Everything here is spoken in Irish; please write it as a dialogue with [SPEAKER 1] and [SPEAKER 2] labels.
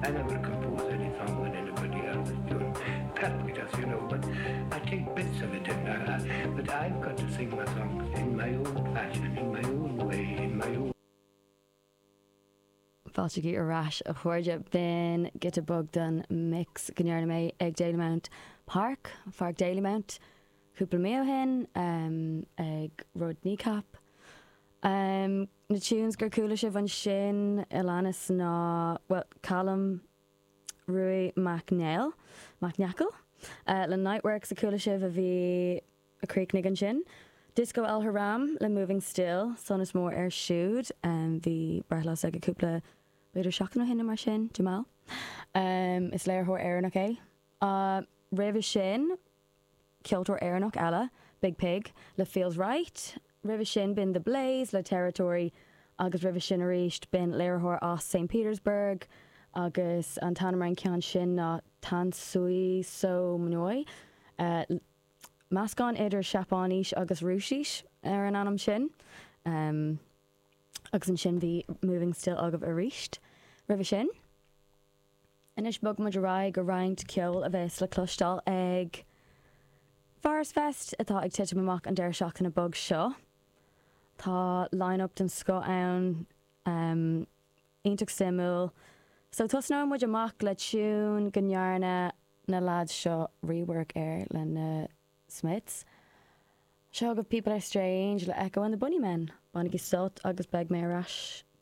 [SPEAKER 1] I never compose any song when anybody else is doing. Perfect, as you know, but I take bits of it and I, I, but I've got to sing my songs in my own fashion, in my own way, in my own
[SPEAKER 2] Fáilte ar ais a chairde b'in giota beag den mix go ndearna mé ag Dalymount Park, Pháirc Dalymount, cúpla mí ó shin, ag rud Kneecap. Na tunes gur chuala sibh ansin a leanas ná, bhuel, Callum Ruadh Mac Néill, Mac Neacail, le Niteworks a chuala sibh a bhí, a chríochnaigh ansin. Disco El Haram le Moving Still, sonas mór air siúd, bhí breithlá s'aige cúpla, b'fhéidir seachtain ó shin nó mar sin, Jamal. Is léiritheoir Éireannach é. Roimhe sin, ceoltóir Éireannach eile, Biig Piig le Feels Right. Roimhe sin b'in The Blaze le Territory agus roimhe sin arís b'in léiritheoir as St Petersburg agus an t-ainm ar an cheann sin ná Tantsui So Mnoi. Meascán idir Seapáinis agus Rúisis ar an ainm sin. Agus ansin bhí Moving Still agaibh arís roimhe sin. Anois bogfaidh muid ar aghaidh go roinnt ceoil a bheas le cloisteáil ag Forest Fest atá ag titim amach an deireadh seachtaine beag seo. Tá line-up den scoth ann, iontach suimiúil. So tosnóidh muid amach le tiún go ndearna na lads seo rework air le na Smiths. Seo agaibh People Are Strange le Echo and the Bunnymen. Bainigí sult agus beidh mé ar ais.